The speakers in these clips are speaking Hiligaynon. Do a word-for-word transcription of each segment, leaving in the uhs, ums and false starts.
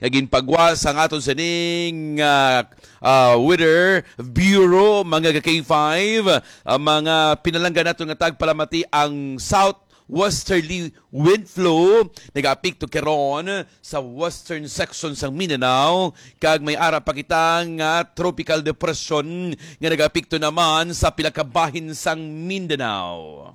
nga ginpagwa sang aton sining, ah, ah, Weather Bureau, mga ka K five. Ang mga pinalangga nato nga tagpalamati, ang southwesterly wind flow nagaapekto karon sa western section sang Mindanao, kag may ara pa kita nga tropical depression nga nagaapekto naman sa pila ka bahin sang Mindanao.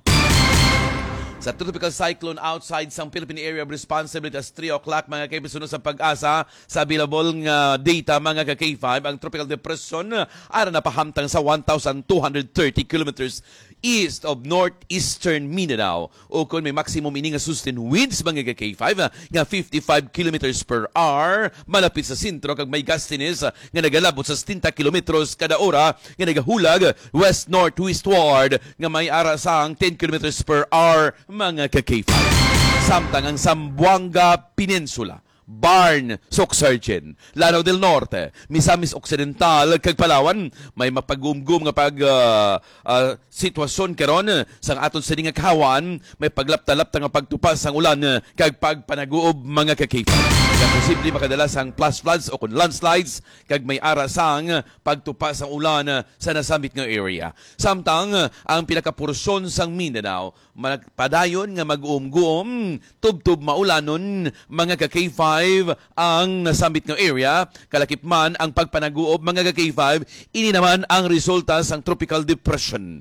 Sa tropical cyclone outside sang Philippine Area of Responsibility, as three o'clock, mga kaibigan, suno sa PAGASA, sa available nga data, mga ka K five, ang tropical depression ara na pahamtang sa one thousand two hundred thirty kilometers east of northeastern Mindanao. Ukon may maximum ini nga sustained winds, mga ka K five, nga fifty-five kilometers per hour, malapit sa sentro, kag may gustiness nga nagalabot sa setenta kilometros kada ora nga nagahulag west-northwestward nga may ara sang ten kilometers per hour, mga ka K five. Samtang ang Zamboanga Peninsula, Barn, Suc-Sargen, Lanao del Norte, Misamis Occidental, kag Palawan, may mapag-umgum nga pag, ah, ah, sitwasyon karon sang aton sini nga kahawan, may paglapta-lapta nga pagtupa sang ulan, ah, kag pagpanaguob, mga ka K five. Nga posible makadala sang flash floods o kon landslides, kag may ara sang pagtupa sang ulan, ah, sa nasambit nga area. Samtang, ah, ang pila ka porsyon sang Mindanao, magpadayon nga mag-uumguom, tubtob maulanon, mga ka K five, ang nasambit nga area, kalakip man ang pagpanaguob, mga ka K five, ini naman ang resulta sang tropical depression.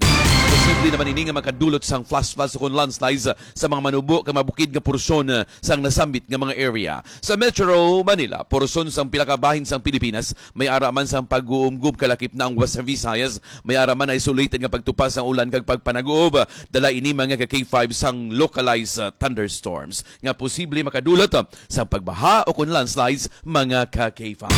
Posible naman ini nga makadulot sang flash floods o kon landslides sa mga manubo kag mabukid nga porsyon sang nasambit nga mga area. Sa Metro Manila, porsyon sang pila ka bahin sang Pilipinas, may ara man sang pag-uumgob, kalakip na ang Western Visayas, may ara man isolated nga pagtupa sang ulan kag pagpanaguob. Dala ini, mga ka K five, sang localized, uh, thunderstorms nga posible makadulot, uh, sa pagbaha o kon landslides, mga ka K five.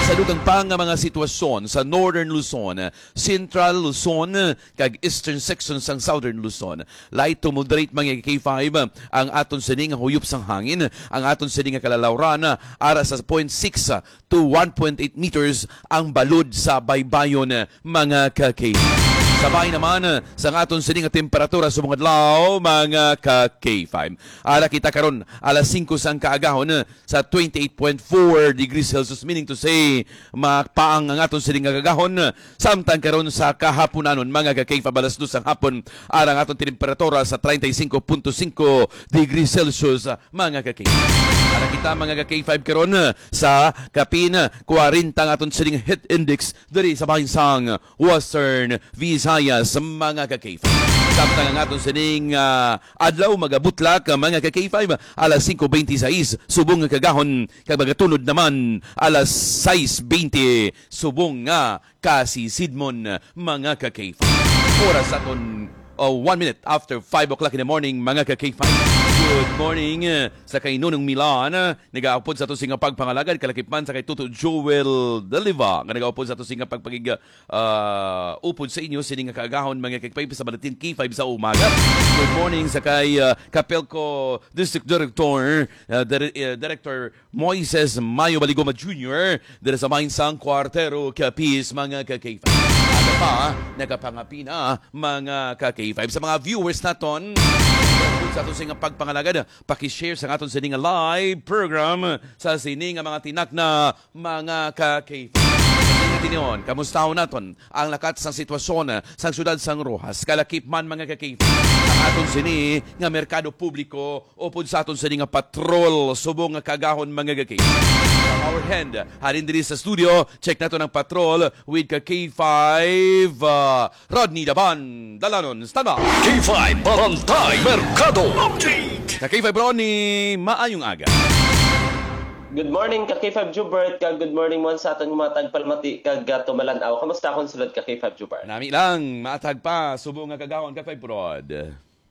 Sa dugang pa nga mga sitwasyon sa Northern Luzon, Central Luzon, kag eastern section sang Southern Luzon, light to moderate, mga K five, ang aton sini nga huyop sang hangin, ang aton sini nga kalalawran, ara sa point six to one point eight meters ang balod sa baybayon, mga ka-K five. Sa bahin naman sang aton sini nga temperatura subong adlaw, mga ka-K five. Ara kita karon, alas singko sang kaagahon, sa twenty-eight point four degrees Celsius, meaning to say, mapaang ang aton sini nga kaagahon. Samtang karon sa kahaponanon, mga ka-K five, alas dos sang hapon, ara ang aton temperatura sa treinta y cinco punto cinco degrees Celsius, mga ka-K five. Ara kita, mga ka-K five, karon sa kapin kwarenta ang aton sining heat index diri sa bahin sang Western Visayas, mga ka-K five. Samtang ang aton sining, ah, adlaw magabutlak, mga ka-K five, alas singko beintisais subong nga kaagahon, kag magatunod naman alas sais beinti subong nga kasisidmon, mga ka-K five. Oras sa aton, uh, one minute after five o'clock in the morning, mga ka-K five. Good morning, uh, sa kay Nonong Milan, uh, nagaupod sa ato sini nga pagpangalagad, kalakip man sa kay Toto Joel Daliva, nga nagaupod sa ato sini nga pagpakig-, uh, upod sa inyo, sini nga kaagahon, mga ka-K five, sa Balatin K five sa umaga. Good morning sa kay, uh, Kapelco District Director, uh, Dire-, uh, Director Moises Mayo Baligoma Junior, diri sa bahin sang Cuartero, Capiz, mga ka-K five. Ato pa, nagapangapi na, mga ka-K five. Sa mga viewers naton, sa aton sini nga pagpangalagad, paki-share sa aton sini nga live program sa sini nga mga tinakna, mga ka-K five. Sa sini nga tinuon, kamustahon naton ang lakat sang sitwasyon sang siyudad sang Roxas, kalakip man, mga ka-K five. Ang aton sini nga merkado publiko, upod sa aton sini nga patrol subong nga kaagahon, mga ka-K five. Sa our hand, halin diri sa studio, check naton ang patrol with ka-K five, ah, Rodney Daban. Dalanon, standby. K five Barangay Merkado Update. Ka-K five Ronnie, maayong aga. Good morning, ka-K five Jubert, kag good morning man sa aton mga tagpalamati kag, ah, tumalan-aw. Kamusta akong sulod, ka-K five Jubert? Nami lang, maatag pa, subong nga kaagahon, ka-K five Rod.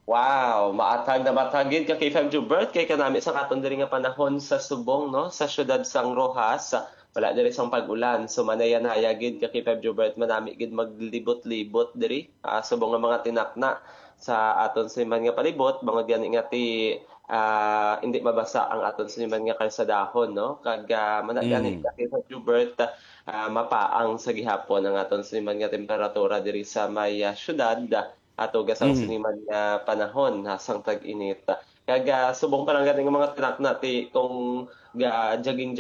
Wow, maatag na maatag gid, ka-K five Jubert, kay kanami sa katon diri nga panahon sa subong, no, sa siyudad sang Roxas, wala diri sang pag-ulan. So, manaya-naya gid, ka-K five Jubert, manami gid maglibot-libot diri, ah, subong nga mga tinakna sa aton siman nga palibot, bangod gani nga ti, ah, hindi mabasa ang aton siman nga kalsadahon, no? Kag, ah, mana gani, Mm. ka-K five Jubert, ah, mapaang sa gihapon ang aton siman nga temperatura diri sa may, ah, siyudad. Ato gasang Mm. siniman nga panahon, ha, sang tag-init. Kag, ah, subong pa lang gani nga mga tinakna ti kung ga-jogging-jogging